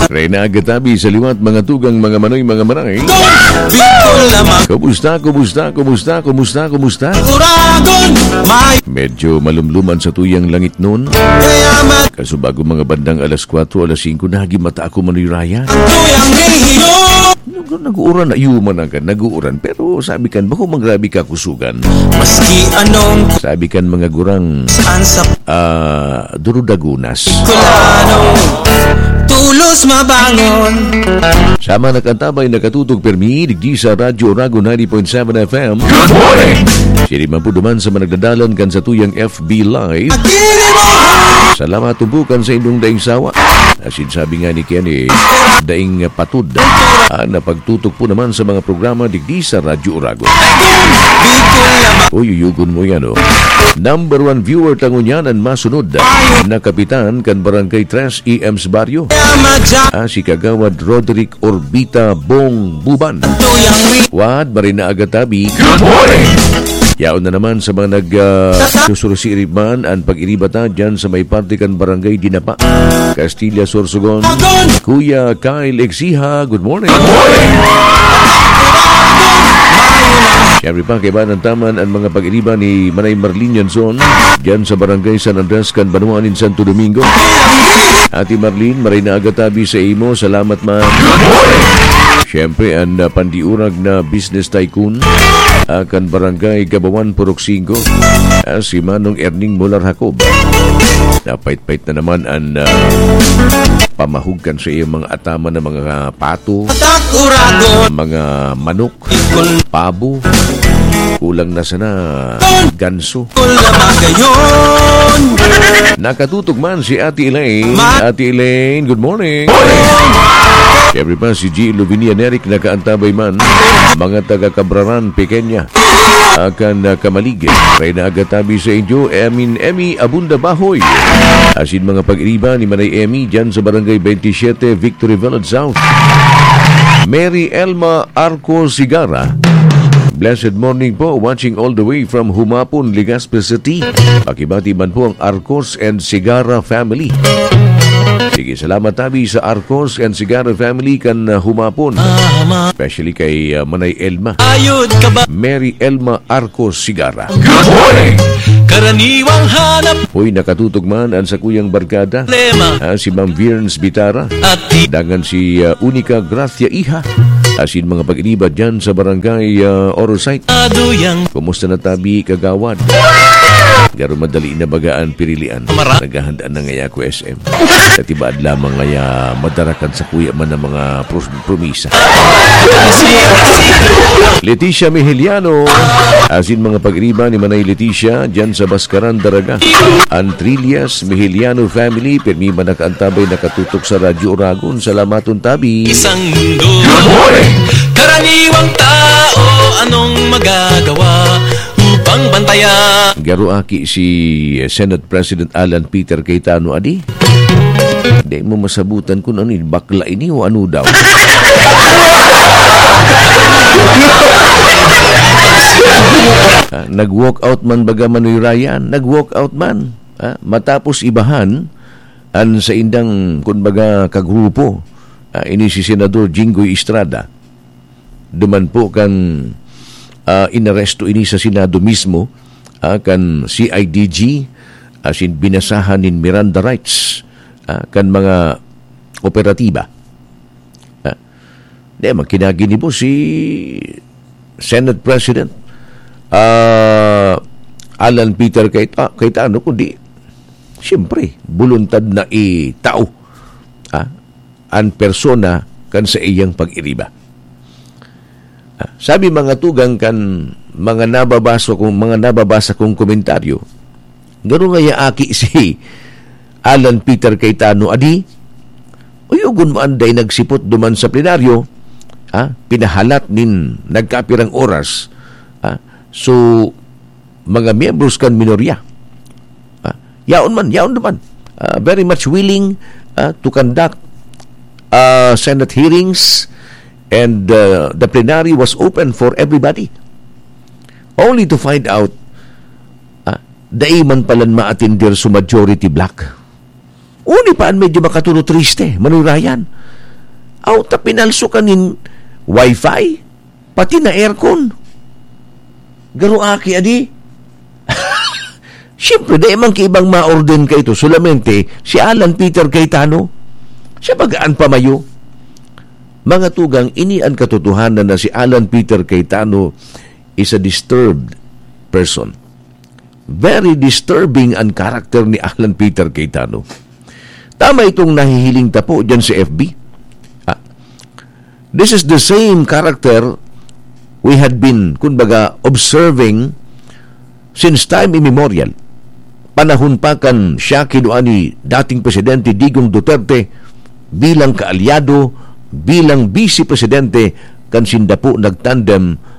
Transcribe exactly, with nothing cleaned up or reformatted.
Reyna Agatabi sa liwat, mga tugang, mga manoy, mga manay. Bicol naman. Kumusta, kumusta, kumusta, kumusta, kumusta? Uragon, may Medyo malumluman sa tuyang langit nun. Kaya mat- Kaso bago mga bandang alas kwatro, alas singko, nagimata ako, Manoy Ryan. Tuyang rehiyon. Nag-, nag-uuran na, yuman agad, nag-uuran. Pero sabi kan, bako magrabi ka kusugan. Maski anong Sabi kan mga gurang, saan sa ah, durudagunas. Kulano, tulos mabangon. Sama nakatabay, nakatutok permi, digdi sa Radyo Oragon ninety point seven F M. Good morning! Siri man po duman sa managdadalan kan sa tuyang F B Live. Agili mo! Salamat tumpukan sa inyong daing sawa. Asin sabi nga ni Kenny, daing patod. Ah, napagtutok po naman sa mga programa digdi sa Radyo Oragon. Bicol naman. Uy, uyugon mo yan, oh. Number one viewer tangon yan ang masunod na kapitan kan Barangay Tres E M's Barrio. Ah, si Kagawad Roderick Orbita Bong Buban. Wad, Marina Agatabi. Good morning! Yaon na naman sa mga nag, ah, susurusiirib man ang pag-iriba ta dyan sa may parte kan Barangay Dinapa, Castilla, Sorsogon. Kuya Kyle Exiha, good morning. Good morning! Siyempre pa, kaibahan taman ang mga pag-iriba ni Manay Marlene Yanson dyan sa Barangay San Andres kan Banwa nin Santo Domingo. Ate Marlene, maray na agatabi sa imo. Salamat, ma'am. Siyempre, ang, ah, pandiurag na business tycoon, ah, kan Barangay Gabawan, Purok Singko, ah, si Manong Erning Molar Jacob. Napait-pait na naman ang, ah, pamahugkan sa iyong mga ataman na mga pato, Atak uragon. Mga manok, pabo. Kulang na sana ganso. Nakatutok man si Ate Elaine. Ma- Ate Elaine, good morning. Siyempre pa, si G. Luvinia Neric nakaantabay man. Mga taga Cabraran, Pequeña. Akan, ah, kamalig. Reyna Agatabi sa inyo, Emin Emi Abunda Bahoy. Asin mga pag-iriba ni Manay Emi dyan sa Barangay twenty-seven, Victory Village South. Mary Elma Arco Sigara. Blessed morning po, watching all the way from Humapon, Legazpi City. Pakibati man po ang Arcos and Sigara family. Sige, salamat tabi sa Arcos and Sigara family kan, uh, Humapon. Especially kay, uh, Manay Elma. Ayod ka ba? Mary Elma Arcos Sigara. Good morning! Karaniwang hanap Hoy, nakatutok man ang sakuyang barkada. Lema. Ah, si Ma'am Virns Bitara. At di- Dangan si, ah, Unica Gracia Iha. Asin mga pag-iriba dyan sa barangay, ah, Orosite. Aduyang. Kumusta na tabi, kagawad? Garo madali na baga ang pirilian. Mara- Naghahanda na ngaya ako, S M. Katibaad lamang ngaya madarakan sa kuya man ang mga pros-, promisa. Leticia Mihiliano, asin mga pag-iriba ni Manay Leticia, dyan sa Bascaran, Daraga. An Trillas Mihiliano family, pirmi man nakaantabay, nakatutok sa Radyo Oragon. Salamaton tabi. Isang mundo. Good morning! Karaniwang tao, anong magagawa upang bantayan? Garo aki si Senate President Alan Peter Cayetano, adi? Di mo masabutan kung ano yun, bakla ini o ano daw. Ah, nag-walk out man baga Manoy Ryan, nag-walk out man. Ah, matapos ibahan, an saindang, kun baga, kagrupo, ah, ini si Senador Jinggoy Estrada. Duman po kan, ah, inaresto ini sa Senado mismo, ah, kan C I D G, asin binasahan nin Miranda rights, ah, kan mga operatiba. Ah, di, magkinaginibo si Senate President, ah, Alan Peter Cayet-, ah, Cayetano, kundi, siyempre, buluntad na itao, ah, an persona kan sa iyang pag-iriba. Ah, sabi mga tugang kan mga nababasa kong, mga nababasa kong komentaryo, garo ngaya aki si Alan Peter Cayetano, adi? Uyugon mo anday nagsipot duman sa plenaryo, ah, pinahalat nin nagkapirang oras, ah, so, mga miyembros kan minorya. Ah, yaon man, yaon naman. Ah, very much willing, ah, to conduct, ah, Senate hearings, and, ah, the plenary was open for everybody. Only to find out, ah, dai man palan maatender sa majority bloc. Uni pa an medyo makatuno triste, Manoy Ryan. Aw, ta pinalso ka nin wifi, pati na aircon. Garo aki, adi? Siyempre, dai man ki ibang maorden ka ito, solamente si Alan Peter Cayetano. Siya baga an pamayo. Mga tugang, ini an katotohanan na si Alan Peter Cayetano is a disturbed person. Very disturbing an karakter ni Alan Peter Cayetano. Tama itong nahihiling tapo dyan sa F B. Ah, this is the same character we had been, kumbaga, observing since time immemorial. Panahon pa kan siya kinua ni dating Presidente Digong Duterte bilang kaalyado, bilang Vice Presidente kan sinda po nagtandem